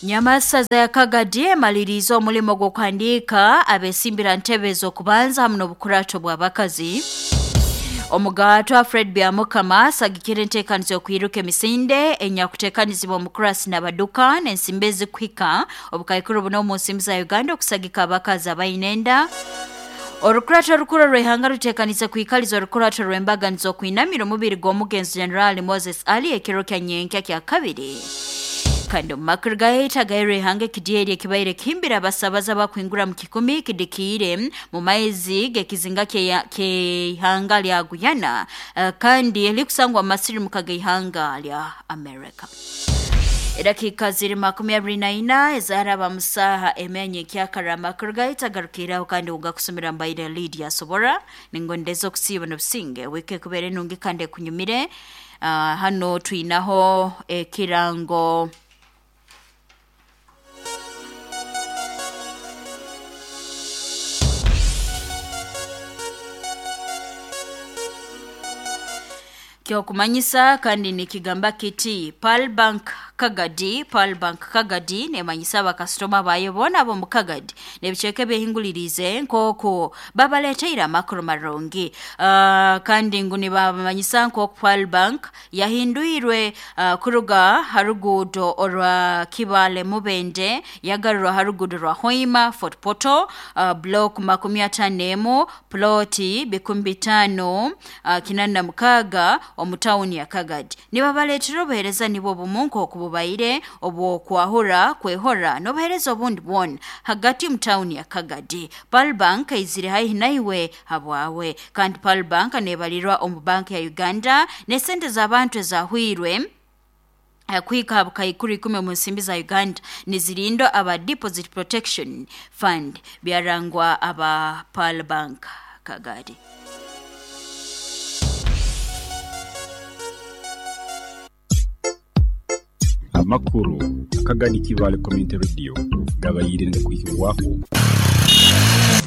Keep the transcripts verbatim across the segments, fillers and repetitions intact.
Nyamasaza ya Kagadi emaliriza omulimo gw'okuhandiika abesimbira ntebe z'okubanza hamu n'obukurato bw'abakazi. Omugatwa Fred Byamukama asagikire enteekanizo y'okwiruka emisinde enyakuteekanizibwa omukurasi n'abaduka n'ensimbi ezikuhika obukaikuru buno omu nsimbi za Uganda okusagika abakazi abaine enda. Orukurato orukuru rw'ihanga ruteekanize kwikaliza orukurato rw'embaganizo okwinamira omubiri gw'omugenzi General Moses Ali ekiro kya nyenkya kya kabiri. Kandi omu makuru gaita gairwe ihanga ekidyeri ekibaire kihimbira abasabaza bakwingura mu kikumi kidikiire mu maizi g'ekizinga ky'eihanga lya Guyana, uh, kandi likusangwa mu masirimuka g'eihanga lya America. Edakika ziri makumi abiri na ina ezaraba musaha emenye kyakara amakuru gaita garukiraho kandi ugakusomera mbaire Lydia Sobora ningondeza okusiiba n'obusinge wike kubere nungi kandi ekunyumire. Uh, hano twinaho ekirango kyokumanyisa kandi nikigamba kiti Pearl Bank Kagadi. Pearl Bank Kagadi nemanyisa abakasitoma bayo bona abo mu Kagadi nebiceke behingulirize nk'oku babaleteire amakuru marungi. Uh, kandi ngu nibabamanyisa nk'oku Pearl Bank yahindwirwe uh, kuruga harugudo orwa Kibale Mubende yagarurwa harugudo rwa Hoima Fort Portal, uh, block makumi atano emu ploti bikumi bitano uh, kinana na mukaga omu tawuni ya Kagadi. Nibabaleetera obuheereza nibwo bumu nk'oku bubaire obw'okwahura kwehora n'obuheereza obundi bwona hagati mu tawuni ya Kagadi. Pearl Bank eizire haihi naiwe habwawe kandi Pearl Bank neebalirwa omu banka ya Uganda n'esente z'abantu ezahwirwe kuhika bukaikuru ikumi omu nsimbi za Uganda nizirindwa aba Deposit Protection Fund byarangwa aba Pearl Bank Kagadi. Amakuru Kagadi Kibale Community Radio gabayirinde kuhibwaho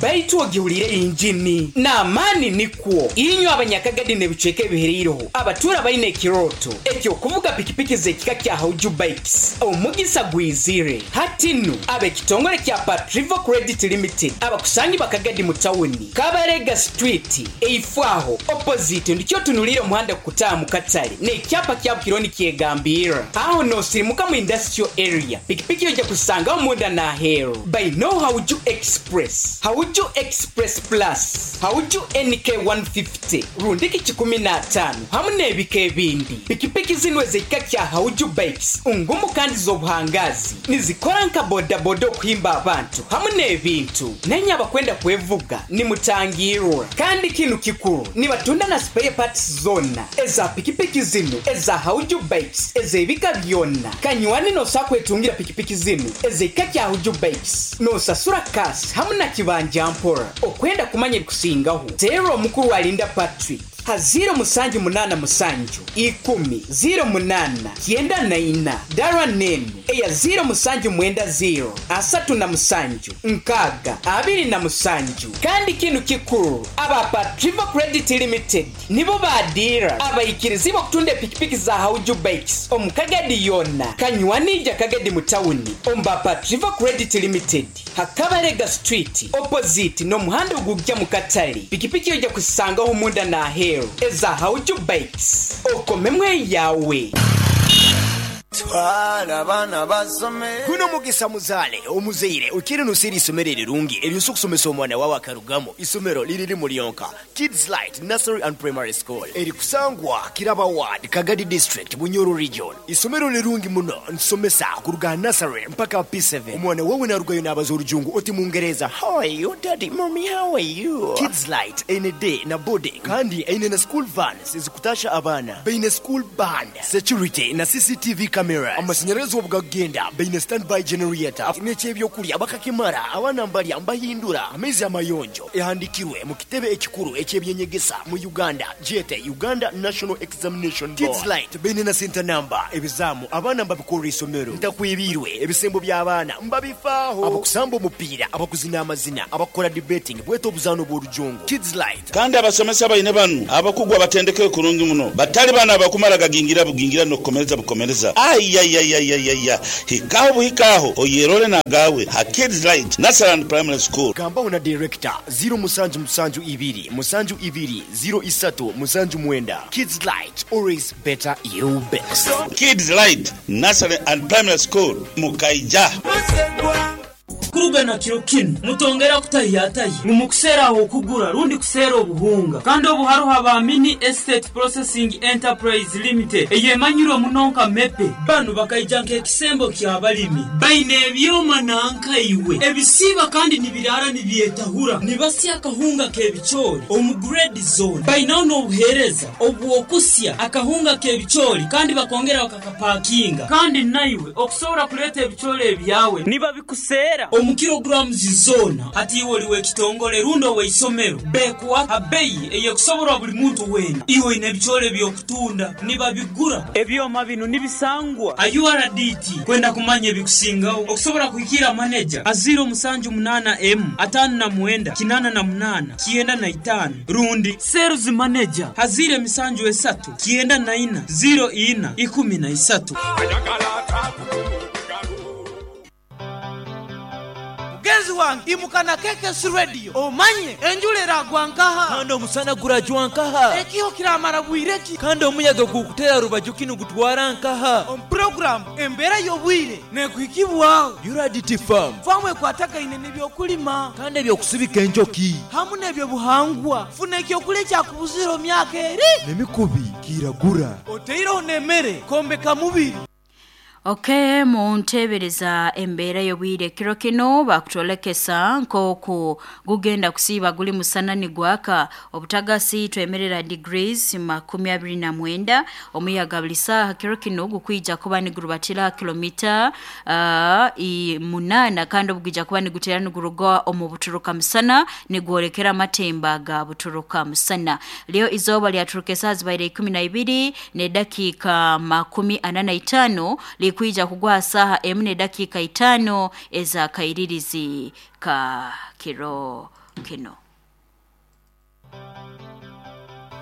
baitu ogiwulire injini n'amaani nikwo inywe abanyakagadi n'ebicweka ebihereireho abatura baine ekiroto ekyokuvuga pikipiki z'ekika kya Hauju Bikes omugisa gwizire hati nnu ab'ekitongole kya Patrivo Credit Limited abakusangi bakagadi mu tawuni Kabarega Street eifwaho opposite ndikyo tunulire omuhanda kukutaaha mu katale n'ekyapa kya Bukironi kyegambira aho nosirimuka mu industrial area pikipiki yojja kusangaho munda n'aheeru by no Hauju Express Hauju Express Plus, Hauju N K one fifty, rundiki kikumi na tano hamu n'ebika ebindi. Pikipiki zino ez'ekika kya Hauju Bikes ngumu kandi z'obuhangazi nizikora nka bodaboda okuhimba abantu hamu n'ebintu nenye abakwenda kwevuga nimutangirwa. Kandi kinu kikuru nibatunda na spare parts zona eza pikipiki zino eza Hauju Bikes ez'ebika byonna. Kanywani nosakwetungira pikipiki zino ez'ekika kya Hauju Bikes nosasura kasi hamu na kibanja mpora. Okwenda kumanya ebikusingaho teera omukuru alinda Patrick ha ziro musanju munana musanju ikumi ziro munana kyenda na ina dara nenu eya ziro musanju mwenda ziro asatu na musanju nkaga abiri na musanju. Kandi kinu kikuru aba Patrivo Credit Limited nibo badira abaikirizi okutunda pikipiki za Hauju Bikes omukagadi yonna kanywanija Kagadi mu tawuni omba Patrivo Credit Limited Hakabarega Street opposite n'omuhanda ogujja mu katale pikipiki yojja kusangaho munda n'aheeru eza Hauju Bikes okomemwe yawe. Twala abaana basome. Guno mugisa muzale omuzeire okiri nusiri isomero erirungi eryosa okusomesa omwana wawe akarugamo. Isomero liriri mulionka Kids Light Nursery and Primary School erikusangwa Kiraba Ward, Kagadi District, Bunyoro Region. Isomero lirungi muno nsomesa kuruga nursery mpaka P seven. Omwana wawe narugayo n'abaza orujungu oti Mungereza, how are you daddy, mommy, how are you? Kids Light ene day na boarding kandi ene na school vans ezikutasha abaana beine school band security na C C T V cameras. Amashanyarazi obugagenda beine standby generator n'ekyebyokulya bakakimara abaana mbalya mbahindura amaizi amayonjo ehandikirwe mu kitebe ekikuru ekyebyenyegesa mu Uganda jete Uganda National Examination Board. Kids Light beine na center number ebizamu abaana mbabikorera isomero ntakwibirwe ebisembo by'abaana mbabifaaho abakusamba omupiira abakuzina amazina abakora debating bweta obuzaano bw'orujungu. Kids Light kandi abasomesa baine banu abakugwa batendeke kurungi muno batali bana abakumara gagingira bugingira n'okukomereza bukomereza Ayayayayaya, hikaho buhikaho oyerole nagawe ha Kids Light Nursery and Primary School. Gambaho na director zero musanju musanju ibiri musanju ibiri zero isatu musanju mwenda. Kids Light, always better you best. Kids Light Nursery and Primary School Mukaija. Kuruga na kiro kinu mutongera kutayatayi mumukusera aho kugura rundi kusera obuhunga kandi obuharuha ba Mini Estate Processing Enterprise Limited eyemanyirwe munonka mepe banu bakaija nk'ekisembo ky'abalimi baine ebyoma nankaiwe ebisiba kandi nibirara nibyetahura nibasya akahunga k'ebicoori omu grade zone bainaho n'obuheereza obwokusya akahunga k'ebicoori kandi bakongera bakakapakinga kandi naiwe okusobola kuleeta ebicoori ebyawe nibabikusera omu kilograms zona hati iwe oliwe ekitongole rundo weisomero bekuwa abeyi eyekusoborwa buli muntu wena iwe ine ebicoori ebyokutunda nibabigura ebyoma bino nibisangwa a U R D T kwenda kumanya ebikusingaho okusobola kuhikira manager a zero musanju munana m atano na mwenda kinana na munana kienda na itano rundi sales manager hazire misanju esatu kienda na ina zero ina ikumi na isatu. Mugenzi wange imukana K K S Radio omanye enjula eragwa nkaha kandi omusana gurajwa nkaha ekiho kiramara bwireki kandi omuyaga gukutera rubaju kinu gutwara nkaha omu program embeera y'obwire nekuhikibwaho U R D T farm famu ekwatagaine n'ebyokulima kandi ebyokusibika enjoki hamu n'ebyobuhangwa funa ekyokulya ekyakubuzira omu myaka eri n'emikubi kiragura oteireho n'emmere kombeka mubiri. Okay, muntebereza embeera y'obwire kiro kino bakutolekesa nk'oku gugenda kusiiba guli musana nigwaka obutagasi twemerera degrees makumi abiri na mwenda omuyaga buli saaha kiro kino gukwija kuba nigurubatira kilomita uh, i munana kandi obugija kuba nigutera niguruga omu buturuka musana nigwolekera amatemba ga buturuka musana. Leo izoba lyaturuka esaaha zibaire ikumi na ibiri n'edakiika makumi ana na itano kuija kugwa saha emune dakika itano eza kairirizi ka kiro kino.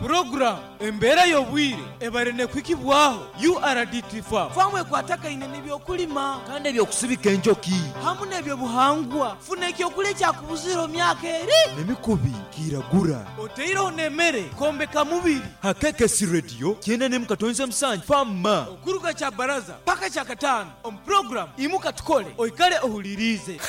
Program embeera y'obwire ebarene kwikibwaho U R D T farm famu ekwatagaine n'ebyokulima kandi ebyokusibika enjoki hamu n'ebyobuhangwa funa ekyokulya ekyakubuzira omu myaka eri n'emikubi kiragura oteireho n'emmere kombeka mubiri ha K K S Radio kyenda n'emu katonze musanju fama okuruga kya baraza paka kya kataano omu program imuka tukole oikale ohulirize.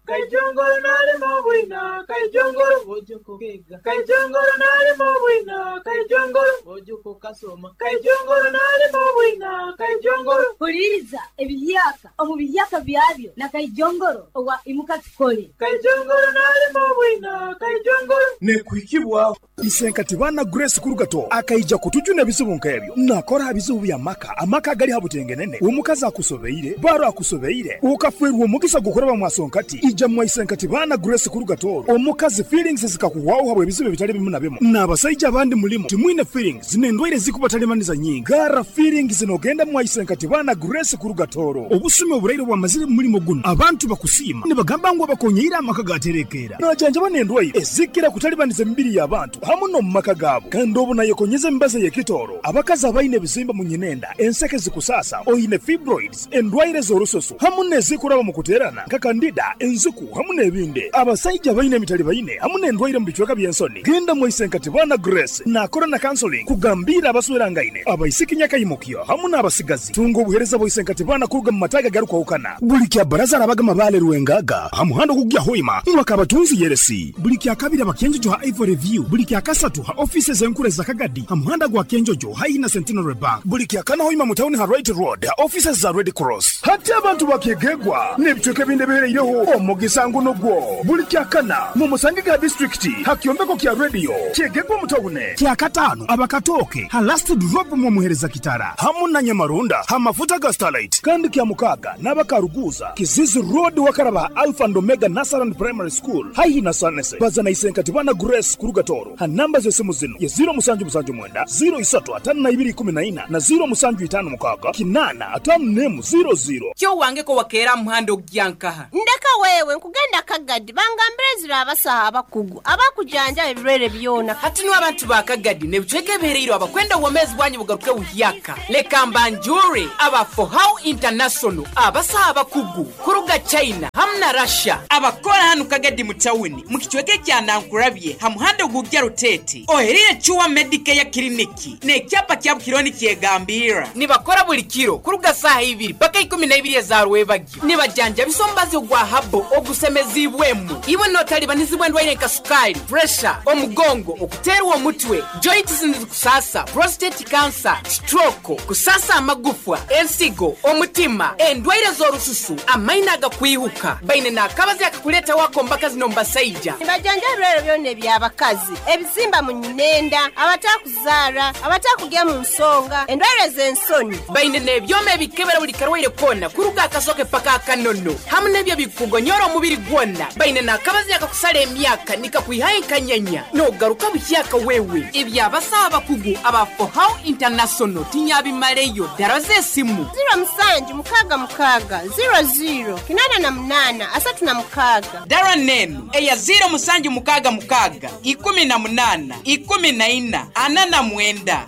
Kaijongoro nalimo bwina, kaijongoro bojoko kega. Kaijongoro nalimo bwina, kaijongoro bojoko kasoma. Kaijongoro nalimo bwina, kaijongoro. Huliriza ebiyaka omu biyaka byabyo na kaijongoro owa imuka tukole. Kaijongoro nalimo bwina, kaijongoro. Nekuhikibwa Isenkati bana Grace Kurugato akaija kutujuna ebizibu nk'ebyo nakora ebizibu bya maka amaka gali habutengenene omukazi akusobeire baro akusobeire ukafwerwa omugisa gukoraba mwasonkati ija mwaisenkati bana Grace Kurugato omukazi feelings zikakuwaho habwe ebizibu bitali bimu na bimu n'abasajja abandi mulimo timwine feelings n'endwaire zikubatalemaniza nyingi gara feelings zinogenda mwaisenkati bana Grace Kurugatoro obusumi oburaire bwamazire mulimo guno abantu bakusiima nibagamba ngu abakonyeire amaka gaterekera najanja banendwaire ezikira kutalibaniza emibiri y'abantu hamu no mu maka gaabo kandi obu nayekonyeza emibazi y'ekitooro abakazi abaine ebizimba mu nyinenda enseke zikusasa oine fibroids endwaire z'orususu hamu n'ezikuraba mu kuteerana nka kandida enziku hamu n'ebindi abasajja baine emitali baine hamu n'endwaire mu bicweka by'ensoni genda mwaisenkati bana Grace nakora na counseling kugambira abaswerangaine abaisiki nyakayimukyo hamu n'abasigazi tunga obuhereza bwaisenkati bana kuruga mu mataga garukwahukana buli kya baraza arabaga mabale rwengaga hamuhando kugya hoima mwakabatunzi yeresi buli kya kabiri abakenjojo ha Ivory View buli kya kasatu ha offices enkure za Kagadi hamuhanda gwa Kenjojo haina Centenary Bank buli kya kana hoima mu town ha Right Road ha offices za Red Cross hati abantu bakegegwa n'ebicweka ebindi bihereireho omugisango nogwo buli kya kana mu musange ga district ha kyombeko kya radio kyegegwa mu town kya katano abakatoke ha last drop mu muhereza kitara hamu na Nyamarunda ha mafuta ga Starlight kandi kya mukaga n'abakaruguza Kizizi Road wakaraba Alpha and Omega Nursery Primary School haihi na Sanese bazana isenkati bana Grace Kurugatoro ha namba z'esimu zino ye zero musanju musanju mwenda zero isatu atano na ibiri ikumi na ina na zero musanju itano mukaga kinana atano nemu zero zero Kyo wange ko wakeera muhando gyankaha ndeka Mama wewe nkugenda Kagadi bangambire zira abasaha abakugu abakujanja ebirwere byona. Hati niwe abantu ba Kagadi nebicweka ebihereirwe abakwenda obwomezi bwanyu bugaruke buhyaka. Leka mbanjure aba Fohow International abasaha abakugu kuruga China hamwe na Russia abakora hano Kagadi mu tawuni mu kicweke kya Nankurabye ha muhanda gugya Rutete oherire Chuwa Medicare Clinic n'ekyapa kya Bukironi kyegambira nibakora buli kiro kuruga saha ibiri paka ikumi na ibiri za rwebagyo nibajanja bisombazi gwa habo ogusemezibwemu iwe notalibanizibwa endwaire nka sukali, pressure, omugongo, okuterwa omutwe, joints nizikusasa, prostate cancer, stroke, kusasa amagufwa, ensigo, omutima, endwaire z'orususu, amaina agakwihuka. Baine n'akabazi akakuleta wako mbaka zino mbasaija. Nibajanja ebirwere byona eby'abakazi, ebizimba mu nyinenda, abatakuzaara, abatakugya mu nsonga, endwaire z'ensoni. Baine n'ebyoma ebikebera buli karwaire kona kuruga akasoke paka akanono hamwe n'ebyo bikugonyora omubiri gwona. Baine n'akabazi akakusala emyaka nikakwihayo enkanyanya n'ogaruka buhyaka wewe. Ebyabasaha abakugu aba Fohow International tinyabimaleyo. Dara z'esimu ziro musanju mukaga mukaga ziro ziro kinana na munana asatu na mukaga. Dara nenu eya ziro musanju mukaga mukaga ikumi na munana ikumi na ina ana na mwenda.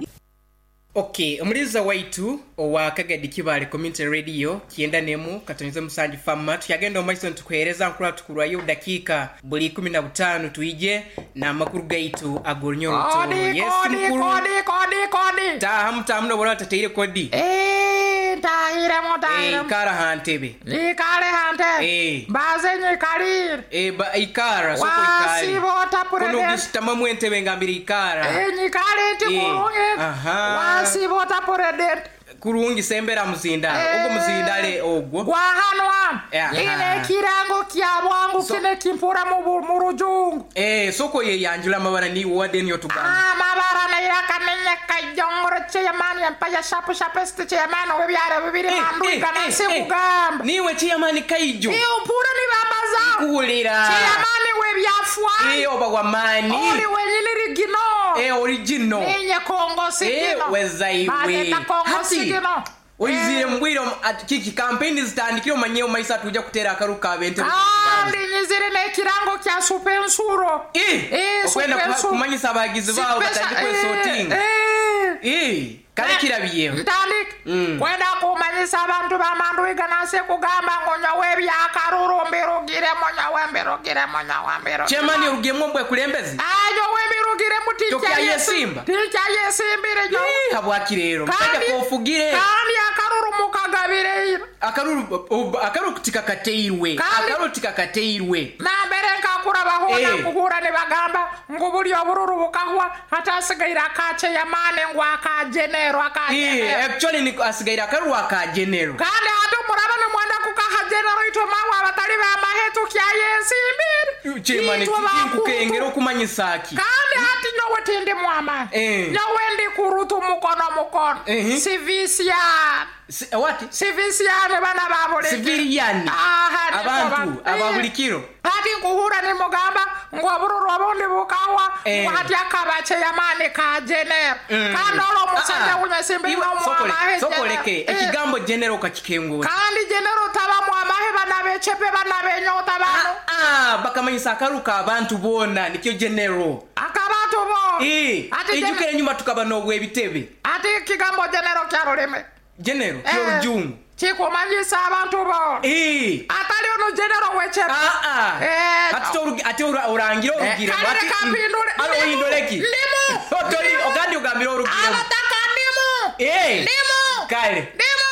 Okay, omuliza waitu owa Kagadi Kibale Community Radio kienda nemu katonyeza musanju fama tuyagenda omaiso ntukuhereza nkura tukurwayo dakika buli ikumi na butano tuije na makuru gaitu agornyo kodi, yes kodi, mukuru kodi kodi kodi taha mutamu bora tateire kodi eh tahire mo tahire eh ikara hantebe ikare hante eh baze nyikarir eh ba ikara soko ikare wasibota kuno gisitama mwentebe ngambira ikara eh nyikare tikurunge aha wasibota president kurungi sembera muzinda eh, ogwo muzindale ogwo gwa hano Eh, ine kirango kya bwangu So- kine kimpura mu mu rujungu eh soko ye yanjula mabara ni wade niyo tugamba ah mabara na irakamenya kajongoro chairman yampaya shapu shapeste chairman webyara bibiri mandu kana sikugamba niwe chairman kaijo iyo mpura ni bambaza kuhulira chairman webyafwa eh oba wa mani ori wenyini rigino eh original ninye kongo sigino eh wezaiwe Bageta kongo Hati, sigino oyizire mbwiro kiki campaign zitandikire omanye omaisa tuja kutera akaruka abente kandi nyizire n'ekirango kya supensuro eh Eh, okwenda supensuro. kumanyisa abagizi bawo Sipesa- batandike kwesotinga eh, eh kale kirabiyeho ntandika Mm. kwenda kumanyisa abantu bamanduiga nase kugamba ngo nyowe ebyakaruru mbirugiremo nyowe mbirugiremo nyowe mbirugiremo chairman orugiyemo mbwe kulembezi Ah, nyowe mbirugiremo Tokyayesimba? tikyayesimbire nyowe Eh, habwaki rero musajja Kandi- kofugire kandi akaruru mukagabire akaruru ob- akaruru tikakateirwe Kandi- akaruru tikakateirwe nambere nkakura bahona Eh. kuhura nibagamba ngu buli obururu bukahwa hatasigaire akacheyamane ngu akajenero Eh, akajenero actually ni asigaire akaruru aka general kandi hati muraba nimwenda kukaha jenero itwe mawe abatali bamahe tukyayesimbire chairman Itwe bakurutu. tinkukengera okumanyisa ki kandi hati nyowe tindi mwama Eh. nyowe ndi kurutu mukono mukono Eh. sivisiani Si- what sivisiani bana babuli civilian Aha, niko abantu ba- aba buli kiro hati nkuhura nimugamba ngu obururu obundi bukawa Eh. ngu hati akabache yamani ka jenero Mm. kandi olwo omusajja Ah, ah. gunyesimbire Iwe, sokole- nomwamahe sokoleke ekigambo general okakikengura kandi jenero taba mwamahe bana bechepe bana benyota bano Ah, bakamanyisa akaruka abantu boona nikyo general akabantu bo Eh, Ati ejjukira enyuma tukaba n'obwebitebe ati ekigambo jenero kya rulimi general Eh. kyolujungu kikumanyisa abantu bo Eh. atali ono jenero wechepe Ah, ah. Eh, Ati torugi- ate ora- orangire orugiremu Kale ati reka mpindule. alo oyindoleki Ndimu. Otoli- ogandi ogambire orugiremu abataka ndimu Eh. ndimu kale ndimu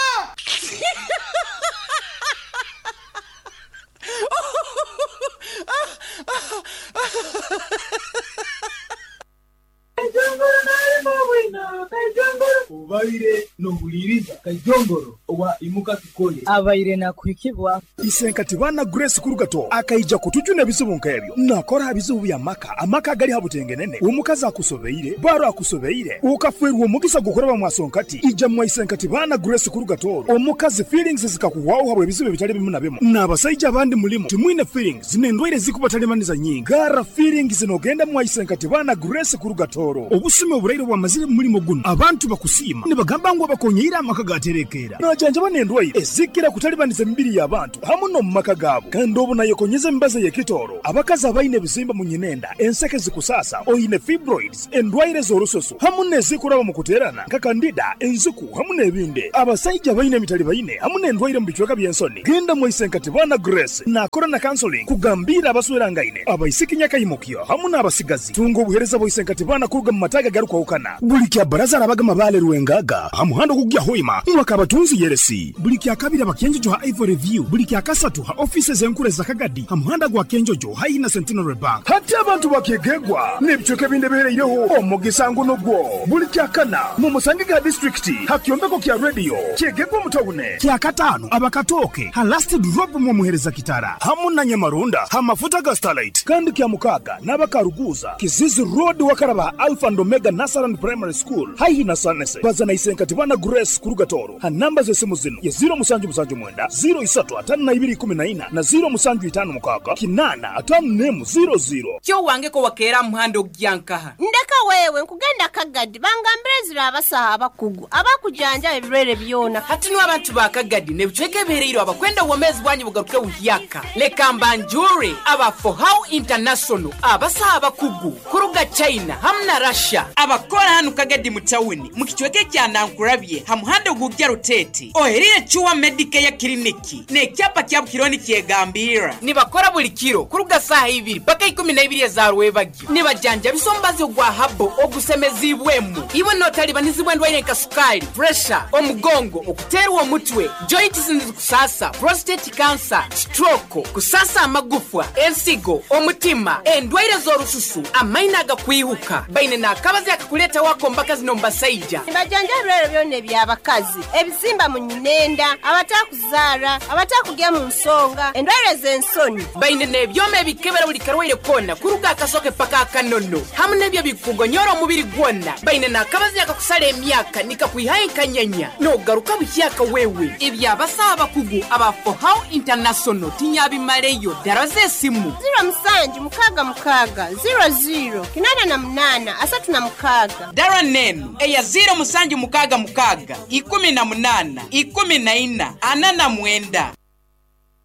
Kajongoro nalimo bwino kajongoro Ubaire nohuliriza Kajongoro owa Imuka Tukole abaire nakuhikibwa Isenkati bana Grace Kurugato akaija kutujuna ebizibu nk'ebyo nakora ebizibu bya maka amaka agali habutengenene omukazi akusobeire baro akusobeire ukafwerwa omukisa gukoraba mwasonkati ija mwa Isenkati bana Grace Kurugato omukazi feelings zikakuwawo habwe ebizibu ebitali bimu na bimu n'abasajja abandi mulimu timwine feelings n'endwaire zikubatalimaniza nyingi gara feelings nogenda mwa Isenkati bana Grace Kurugatoro obusime oburaire bwamazire mu mulimo guno abantu bakusiima nibagamba ngu abakonyeire amaka gaterekeera naja Najanjaba n'endwaire ezikira kutalibaniza emibiri y'abantu hamu n'omu maka gaabo. Kandi obu nayekonyeza emibazi ey'ekitooro, abakazi abaine ebizimba mu nyinenda, enseke zikusasa, oine fibroids, endwaire z'orususu hamu n'ezikuraba mu kuteerana nka kandida, enziku hamu n'ebindi. Abasaija baine emitali baine hamu n'endwaire mu bicweka by'ensoni, genda mwisenkatibana Grace nakora na counseling kugambira abaswerangaine, abaisiki nyakaimukyo hamu n'abasigazi. Tunga obuhereza bw'isenkatibana kuruga mu mataga garukwahukana. Buli kya baraza arabaga mabale rwengaga ha muhanda ogugya hoima mwaka abatunzi yeresi. Buli kya kabiri abakenjojo ha Ivory View, buli kya kasatu ha offices enkuru za Kagadi ha muhanda gwa Kenjojo hayi na Centenary Bank. Hati abantu bakegegwa n'ebicweka ebindi ebihereireho omugisa nguno gwo. Buli kya kana mu musange ga district ha kyombeko kya radio kyegegwa mutawune. Kya katano abakatoke ha last drop mu muhereza kitara hamu na Nyamarunda ha mafuta ga Starlight. Kandi kya mukaga n'abakaruguza Kizizi Road wakaraba Alpha and Omega Nursery Primary School haihi na Sanese. Bazana isenkatibana Grace Kurugatoro ha namba z'esimu zino ya zero musanju musanju mwenda zero isatu atano na ibiri kumi na ina na zero musanju itano mukaga kinana atano nemu zero zero. Kyo wangeko wakeera muhando ogyankaha. Ndeka wewe nkugenda Kagadi bangambire zira abasaha abakugu abakujanja ebirwere byona. Hati no abantu ba Kagadi nebicweka ebihereire abakwenda obwomezi bwanyu bugaruke buhyaka. Leka mbanjure aba For How International abasaha abakugu kuruga China hamu na Russia abakora hanu Kagadi mu tawuni mu kicweka kya Nankurabye ha muhando gugya Rutete oherire Chuwa Medicare Clinic n'ekyapa kya Bukironi kyegambira nibakora buli kiro kuruga saha ibiri paka ikumi na ibiri za rwebagyo nibajanja bisombazi ogwa habo ogusemezibwemu iwe notalibanizibwa endwaire nka sukali, pressure, omugongo, okuterwa omutwe, joints kusasa, prostate cancer, stroke, kusasa amagufwa, ensigo, omutima, endwaire z'orususu, amaina agakwihuka. Baine n'akabazi akakuleta wako mbaka zino mbasaija. Nibajanja ebirwere byona eby'abakazi, ebizimba mu nyinenda, abatakuzaara, abatakugya mu nsonga, endwaire z'ensoni. Baine n'ebyoma ebikebera buli karwaire kona kuruga akasoke paka akanono hamu n'ebyo bikugonyora omubiri gwona. Baine n'akabazi akakusala emyaka nikakwihayo enkanyanya n'ogaruka buhyaka wewe. Ebyabasaha abakugu aba For How International tinyabimaleyo. Dara z'esimu zero musanju mukaga mukaga zero zero kinana na munana asatu na mukaga. Dara nenu eya zero musanju mukaga mukaga ikumi na munana ikumi na ina ana na mwenda.